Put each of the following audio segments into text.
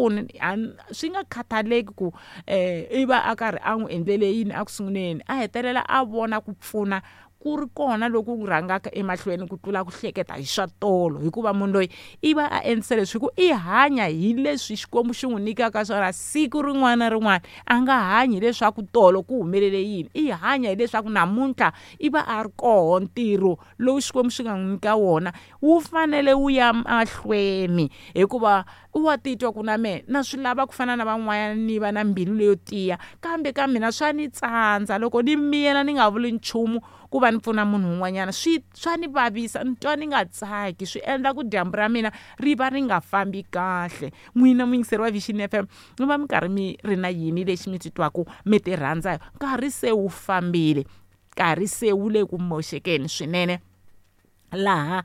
pfuni swi nga khathaleki ku i va a karhi a n'wi endlele yini eku sunguleni, a hetelela a vona ku pfuna ku ri kona loku rhangaka emahlweni ku tlula ku hleketa hi swa tolo, hikuva munhu loyi i va a endlise leswi hi ku i hanya hi leswi Xikwembu xi n'wi nyikaka swona siku rin'wana na rin'wana. A nga hanyi hileswaku tolo ku humelele yini, i hanya hileswaku namuntlha i va a ri koho. Ntirho lowu Xikwembu xi nga n'wi nyika wona wu fanele wu ya mahlweni, hikuva wa titwa ku na mehe na swi lava ku fana na van'wanyana, ni va na mbilu leyo tiya, kambe ka mina swa ni tsandza loko ni miyela ni nga vuli nchumu ku va ni pfuna munhu un'wanyana, swi swa ni vavisa, ni twa ni nga tsaki, swi endla ku dyambu ra mina ri va ri nga fambi kahle. N'wina muyingiseri wa Vision FM, mi va mi karhi mi ri na yini lexi mi titwaku mi ti rhandza? Nkarhi se wu fambile, nkarhi se wu le ku moxekeni swinene, laha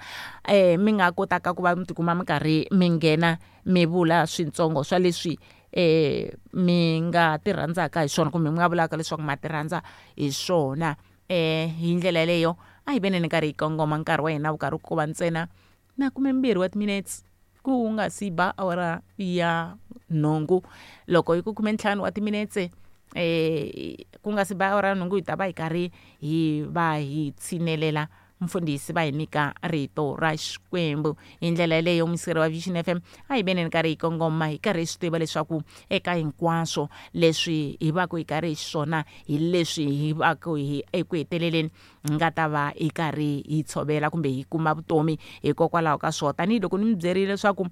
mi nga kotaka ku va mi tikuma mi karhi mi nghena mi vula swintsongo swa leswi mi nga ti rhandzaka hi swona, kumbe mi nga vulaka leswaku ma ti rhandza hi swona. Hi ndlela yeleyo a hi veneni nkarhi hi kongoma, nkarhi wa hina wu karhi ku va ntsena na 12 wa timinetse ku nga si ba awara ya 8. Loko hi ku 15 wa timinetse ku nga si ba awara ya 8, hi ta va hi karhi hi va hi tshinelela mfundhisi va hi nyika rito ra Xikwembu. Hi ndlela yeleyo muyingiseri wa Vision FM, a hi veneni nkarhi hi kongoma, hi karhi hi swi tiva leswaku eka hinkwaswo leswi hi va ku hi karhi hi swona, hi leswi hi va ku hi eku heteleleni hi nga ta va hi karhi hi tshovela kumbe hi kuma vutomi hikokwalaho ka swona. Tanihiloko ni mi byerile leswaku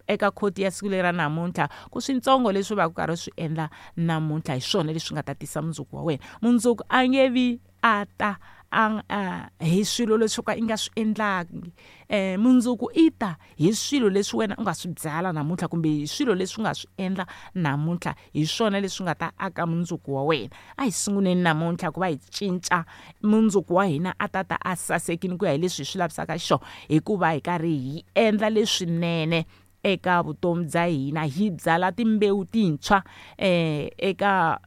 eka khoti ya siku leri ra namuntlha, ku swintsongo leswi va ku karhi swi endla namuntlha hi swona leswi nga ta tisa mundzuku wa wena. Mundzuku a nge vi a ta a hi swilo leswi ka i nga swi endlangi, mundzuku i ta hi swilo leswi wena u nga swi byala namuntlha, kumbe hi swilo leswi u nga swi endla namuntlha, hi swona leswi nga ta aka mundzuku wa wena. A hi sunguleni namuntlha ku va hi cinca mundzuku wa hina a ta ta a sasekile ku ya hi leswi hi swi lavisaka xiswona, hikuva hi karhi hi endla leswinene eka vutomi bya hina, hi byala timbewu tintshwa eka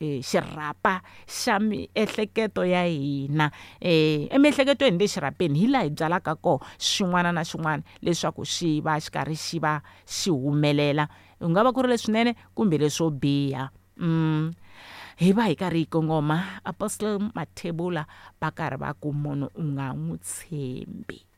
xirhapa xa miehleketo ya hina. Emiehleketweni le xirhapeni hi laha hi byalaka kona xin'wana na xin'wana leswaku xi va xi karhi xi va xi humelela, ku nga va ku ri leswinene kumbe leswo biha. Hi va hi karhi hi kongoma Apostle Mathebula va karhi va ku munhu u nga n'wi tshembi.